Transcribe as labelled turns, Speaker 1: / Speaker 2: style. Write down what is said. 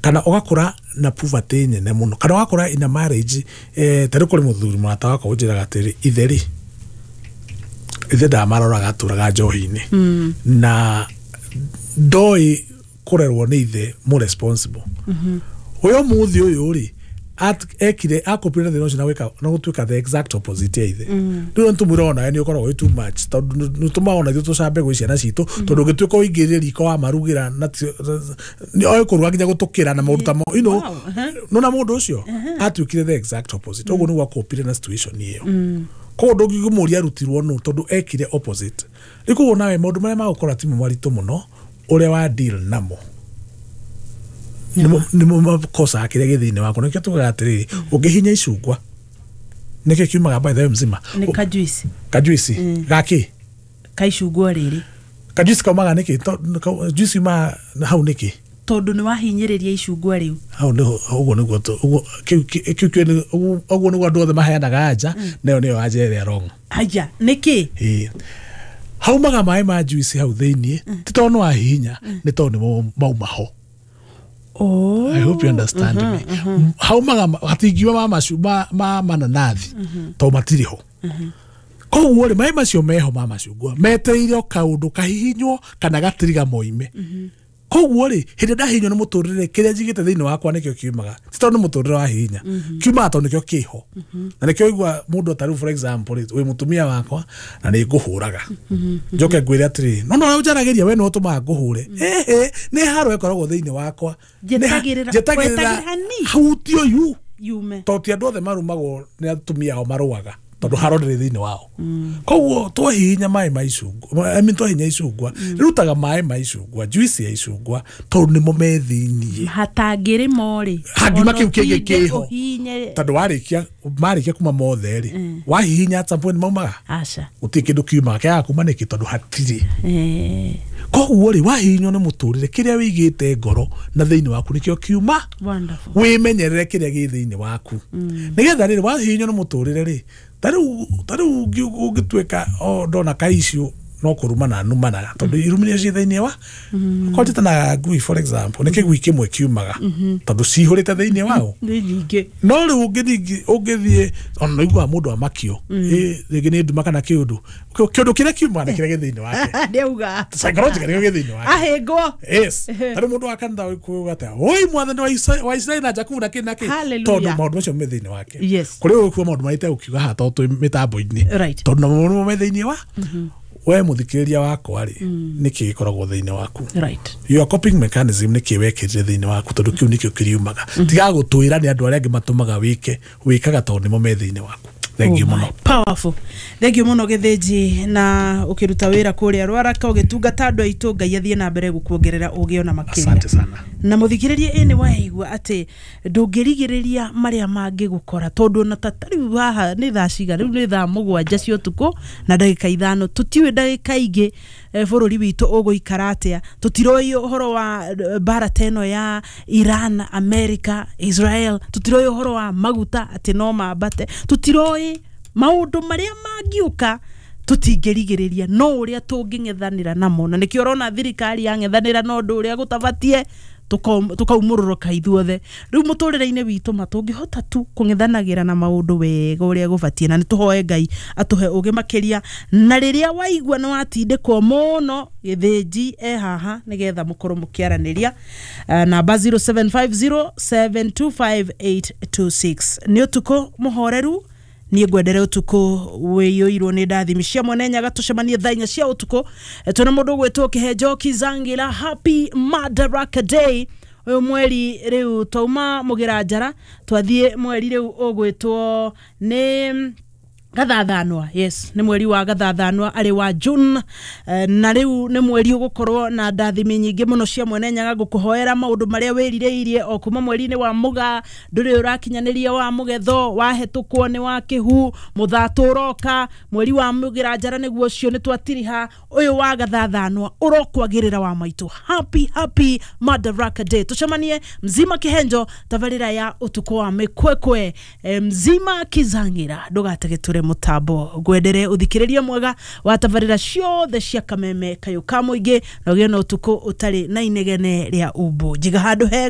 Speaker 1: Kana ũgakũra na poverty nene mũno, kana ũgakũra in a marriage, ta rĩu kũrĩ mũthuri mũrata wakwa ũnjĩraga atĩrĩ, ithe rĩ, ithe ndamaroraga, atũraga njohi-inĩ na ndoĩ kũrerwo nĩ ithe mũ responsible. Ũyũ mũthĩ ũyũ rĩ, ekire akopire na thĩna ũcio na gwĩka na gũtuĩka the exact opposite ya ithe. Rĩu nĩ tũmwĩra onawe nĩ ũkoragwo wĩ too much, tondũ nĩ tũmaga ona ithuĩ tũcambe gwĩ ciana citũ, tondũ ũngĩtuĩka ũingĩrĩre riko wa marugĩra na nĩ oĩ kũruga nginya gũtũkĩra na maũndũ ta mau. Nona mũndũ ũcio atuĩkire the exact opposite. Ũguo nĩguo akopire na situation ĩyo. Koguo ndũngĩmũria arutirwo nũ, tondũ ekire opposite. Rĩu koguo nawe maũndũ marĩa magũkora ti mo maritũ mũno, ũrĩa wa deal namo nĩmo makosaga kĩrĩa gĩ thĩinĩ waku. Nĩkĩo tugaga atĩrĩrĩ, ũngĩhinya icungwa nĩkĩo kiumaga, by the way, mzima?
Speaker 2: Nĩ kajuici.
Speaker 1: Kajuici gakĩ?
Speaker 2: Kaicungwa rĩrĩ.
Speaker 1: Kajuici kaumaga nĩkĩ? Juici yumaga hau nĩkĩ?
Speaker 2: Tondũ nĩ wahinyĩrĩria icungwa rĩu.
Speaker 1: Hau nĩho ũguo nĩguo ũguo kĩu nĩguo andũ othe maheanaga anja, nayo nĩyo anja ĩrĩa wrong.
Speaker 2: Aya, nĩkĩ?
Speaker 1: Ĩĩ, haumaga maĩ ma juice hau thĩiniĩ ti tondũ nĩ wahihinya, nĩ tondũ nĩmo mauma ho.
Speaker 2: Oh.
Speaker 1: I hope you understand me. Haumaga hatingiuma ma macu ma mananathi tondũ matirĩ ho. Koguo rĩ, maĩ macio meho ma macungwa metereire o kaũndũ kahihinywo kana gatiriga moime. Koguo rĩ, hĩndĩ ĩrĩa ndahihinywo nĩ mũtũrĩre, kĩrĩa njigĩte thĩinĩ wakwa nĩkĩo kiumaga. Ti tondũ nĩ mũtũrĩre wahihinya, kiumaga tondũ nĩkĩo kĩho. Na nĩkĩo igua mũndũ ta rĩu, for example rĩ, wĩ mũtumia wakwa na nĩ ngũhũraga, njoke ngwĩre atĩrĩ, no no ũnjaragĩria, we nĩwe ũtũmaga ngũhũre. Ĩhĩ, nĩ haro ĩkoragwo thĩinĩ wakwa.
Speaker 2: Njetagĩrĩra-
Speaker 1: Njetagĩrĩra
Speaker 2: wetagĩrĩra hanini.
Speaker 1: hutio yu
Speaker 2: Yume.
Speaker 1: Tondũ ti andũ othe marumagwo nĩ atumia ao marũaga, tondũ haro ndĩrĩ thĩinĩ wao. Koguo twahihinya maĩ ma icungwa, I mean, twahihinya icungwa rĩrutaga maĩ ma icungwa, juice ya icungwa, tondũ nĩmo me thĩiniĩ.
Speaker 2: Hatangĩrĩ mo rĩ,
Speaker 1: Hangiuma
Speaker 2: ona
Speaker 1: kĩu kĩngĩ
Speaker 2: ũtinde
Speaker 1: kĩho.
Speaker 2: ũhinye.
Speaker 1: Tondũ warĩkia marĩkia kuma mothe rĩ, wahihinya at some point maumaga.
Speaker 2: Aca.
Speaker 1: Gũtirĩ kĩndũ kiumaga. Kĩaga kuma nĩkĩ? Tondũ hatirĩ. Koguo rĩ, wahihinywo nĩ mũtũrĩre, kĩrĩa wĩigĩte ngoro na thĩinĩ waku nĩkĩo kiuma.
Speaker 2: Wonderful.
Speaker 1: Wĩmenyerere kĩrĩa gĩ thĩinĩ waku, nĩgetha rĩrĩ wahihinywo nĩ mũtũrĩre rĩ, ta rĩu ũngĩtuĩka o ndona ka issue no kũrumana numanaga, tondũ irumi nĩcio ciĩ thĩinĩ wa korwo na ngui, for example, nĩ kĩgui kĩmwe kiumaga tondũ cihũrĩte thĩinĩ wao.
Speaker 2: Nĩ nyingĩ.
Speaker 1: No rĩu ũngĩthiĩ ona nĩiguaga mũndũ amakio. Ĩ, rĩngĩ nĩ nduma kana kĩũndũ kĩũndũ kĩrĩa kiumaga nĩ kĩrĩa gĩ thĩinĩ wake.
Speaker 2: Ndĩauga.
Speaker 1: Psychologically nĩkĩo gĩ thĩinĩ wake.
Speaker 2: Ahĩngwo.
Speaker 1: Yes, tarĩ mũndũ wa kanitha kuga atĩa, oi mwathani wa Isiraeli na Jakubu na kĩ na kĩ.
Speaker 2: Hallelujah.
Speaker 1: Tondũ maũndũ macio me thĩinĩ wake. Kũrĩ ũkuo maũndũ marĩa itegũkiuga haha tondũ twĩ mĩtambo-inĩ, tondũ namo nĩmo me thĩinĩ wa we mũthikĩrĩria wakwa rĩ, nĩkĩ gĩkoragwo thĩinĩ waku? Your coping mechanism, nĩkĩ wekĩrire thĩinĩ waku? Tondũ kĩu nĩkĩo kĩriumaga. Tiga gũtwĩra nĩ andũ arĩa angĩ matũmaga wĩke, wĩkaga tondũ nĩmo me thĩinĩ waku. Thank you
Speaker 2: Oh
Speaker 1: mũno.
Speaker 2: my, powerful. Thank you mũno, Gĩthĩnji, na ũkĩruta wĩra kũrĩa Rwaraka ũgĩtungata andũ aitũ. Ngai athiĩ na mbere gũkuongerera ũgĩ ona makĩria.
Speaker 1: Asante sana.
Speaker 2: Na mũthikĩrĩrie, ĩ nĩ waigua atĩ ndũngĩrigĩrĩria marĩa mangĩgũkora, tondũ ona ta rĩu haha nĩ thaa cigana? Rĩu nĩ thaa 7 cia ũtukũ na ndagĩka 5. Tũtiũĩ ndagĩka ingĩ bũrũri witũ ũgũikara atĩa. Tũtiroĩ ũhoro wa mbara ta ĩno ya Iran, America, Israel. Tũtiroĩ ũhoro wa maguta atĩ no mambate. Tũtiroĩ maũndũ marĩa mangĩũka. Tũtingĩrigĩrĩria, no ũrĩa tũngĩng'ethanĩra namo, na nĩkĩo ũrona thirikari yang'ethanĩra na ũndũ ũrĩa gũtabatie, tũkaumũrũrũka ithuothe. Rĩu mũtũrĩre-inĩ witũ ma tũngĩhota tu kũng'ethanagĩra na maũndũ wega ũrĩa gũbatiĩ, na nĩ tũhoe Ngai atũhe ũgĩ makĩria. Na rĩrĩa waigua nĩ watindĩkwo mũno, Gĩthĩnji e haha nĩgetha mũkorwo mũkĩaranĩria. Namba 0750725826. Nĩ ũtukũ mũhoreru. Niĩ ngwendere ũtukũ wĩiyũirwo nĩ ndathimi cia Mwene Nyaga. Tũcemanie thaa 4 cia ũtukũ. Twĩna mũndũ ũgwĩtwo Kĩhenjo Kizangila. Happy Madaraka Day. Ũyũ mweri rĩu twauma mũgĩra njara, twathiĩ mweri rĩu ũgwĩtwo nĩ Gathathanwa. Yes, nĩ mweri wa Gathathanwa, arĩ wa June. Na rĩu nĩ mweri ũgũkorwo na ndathimi nyingĩ mũno cia Mwene Nyaga. Ngũkũhoera maũndũ marĩa wĩrirĩirie o kuma mweri-inĩ wa Mũgaa ndũrĩ ũrakinyanĩria, wa Mũgetho wahetũkwo, nĩ wa Kĩhu, Mũthatũ ũroka, mweri wa Mũgĩra njara nĩguo ũcio nĩ twatiriha. Ũyũ wa Gathathanwa ũrokwagĩrĩra wa maitũ. Happy, happy Madaraka Day. Tũcemanie mzima Kĩhenjo, tabarĩra ya ũtukũ wa mĩkwekwe. Mzima Kizang'ira, ndũgatege tũre mũtambo. Ngwendere ũthikĩrĩrie mwega wa tabarĩra ciothe cia Kameme Kayũ ka Mũingĩ, na ũgĩe na ũtukũ ũtarĩ na inegene rĩa umbu. Njiga handũ hega.